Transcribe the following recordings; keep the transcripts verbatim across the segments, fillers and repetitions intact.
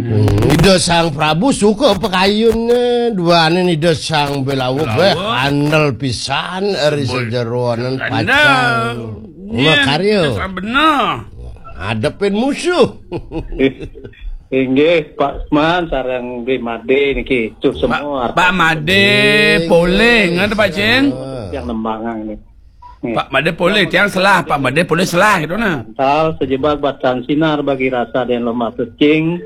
Hmm, Ida Sang Prabu suka pakayune, duane Ida Sang Belawa beh andel pisan ari sajeroning pacang. Makarya. Bener. Ngadepin musuh. Inggih, Pak Man sareng Bli Made niki. Cuh semua. Pak Made, polih, ngoten, Pak Cing? Yang nembangang ini. Pak Made polih, tiang selah, Pak Made polih selah, gitu nah. Antal sejebat batan sinar bagi rasa dan lemah pecing.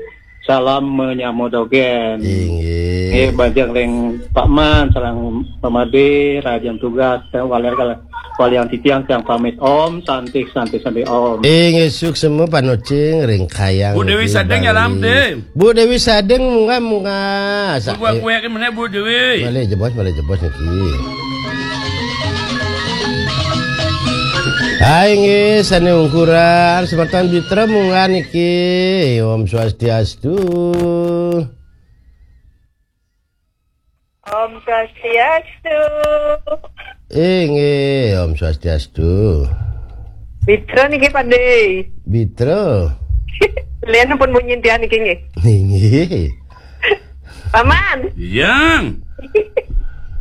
Salam menyambut dogen. Inggih. Nggih, bajang ring Pak Man, sareng Pak Made, rahajeng tugas, walian kal-, walian titiang, tiang pamit. Om Santi, Santi, Santi, Om. Inggih, suksma panocing ring kayang Bu Dewi niki Sadeng, Bali. Nyalam, deh. Bu Dewi Sadeng, munggah, munggah. Sa-, Bu, eh, kue ke mana, Bu Dewi? Malih jebos, malih jebos niki. Hai, nggih, sane ungkuran, semeton Bitra munggah niki. Om Swastiastu. Om Swastiastu. Inggih, Om Swastiastu. Bitra niki, Pak De. Bitra. Lian pun munyin tiang niki nggih. Inggih. Paman. Yang.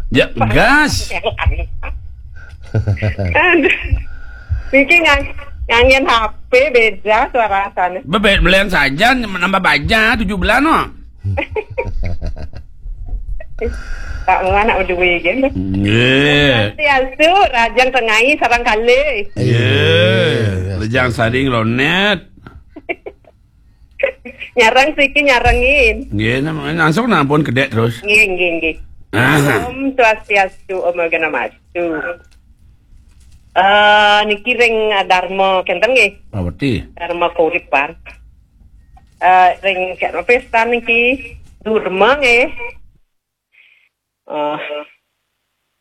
Ya, gas. Aduh. Niki ngang-, ngangen H P beda suarasane. Bebe-, belian saja, nambah baja, tujuh belas, no. Tak mau anak berdua, kan? Nggih. Swastiastu, rahajeng tengai sareng kalih. Nggih. Rejang saring ronet. Nyareng siki nyarengin. Nggih, nam-, langsung nampun kedek terus. Nggih, nggih, nggih. Aha. Om Swastiastu, Om Awighnamastu. Eh, niki ring, eh, Dharma kenten nggih. Paweti. Dharma Kauripan. Eh, ring kena pesta niki Durma nggih. Eh,